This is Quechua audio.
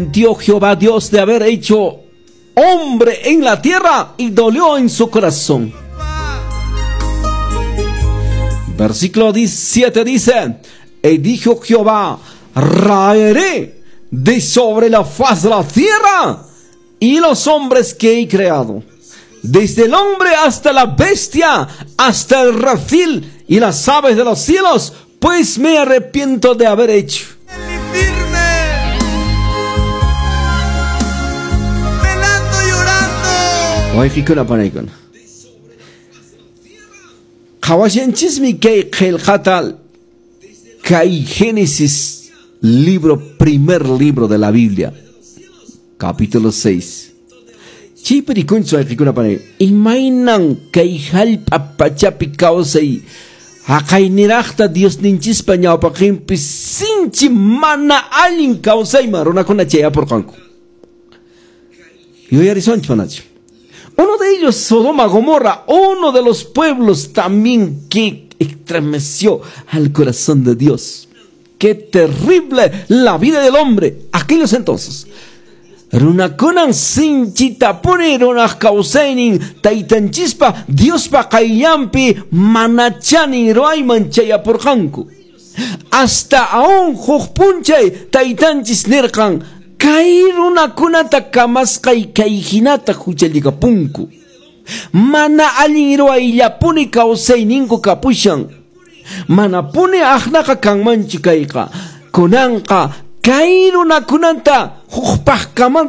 Arrepintió Jehová Dios de haber hecho hombre en la tierra y dolió en su corazón. Versículo 17 dice: Y dijo Jehová: raeré de sobre la faz de la tierra y los hombres que he creado, desde el hombre hasta la bestia, hasta el reptil y las aves de los cielos, pues me arrepiento de haber hecho. Wayqikuna panaykuna. Qhawashanchismi kay qillqata, kay Génesis libro, primer libro de la Biblia, capítulo 6. Chaypi rikunchis, wayqikuna panay, imaynan kay hallp'a pachapi kawsay haqayniraqta Diosninchispa ñawpaqinpi sinchi mana allin kawsayman runakuna chayapurqanku. Yuyarisunchis, manachu? Uno de ellos, Sodoma, Gomorra, uno de los pueblos también que estremeció al corazón de Dios. Qué terrible la vida del hombre aquellos entonces. Runakunan sinchitapuni runaq kawsaynin taytanchispa Diospa qayllanpi mana chanin ruwayman chayapurqanku. Hasta aún huk p'unchay taytanchis nirqan: kay runakunata kamasqay kay hinata huchallikapunku. Mana allin ruwayllapuni kawsayninku kapushan. Manapuni aqnaqa kanmanchu kayqa. Kunanqa kay runakunata hukpaqkamanta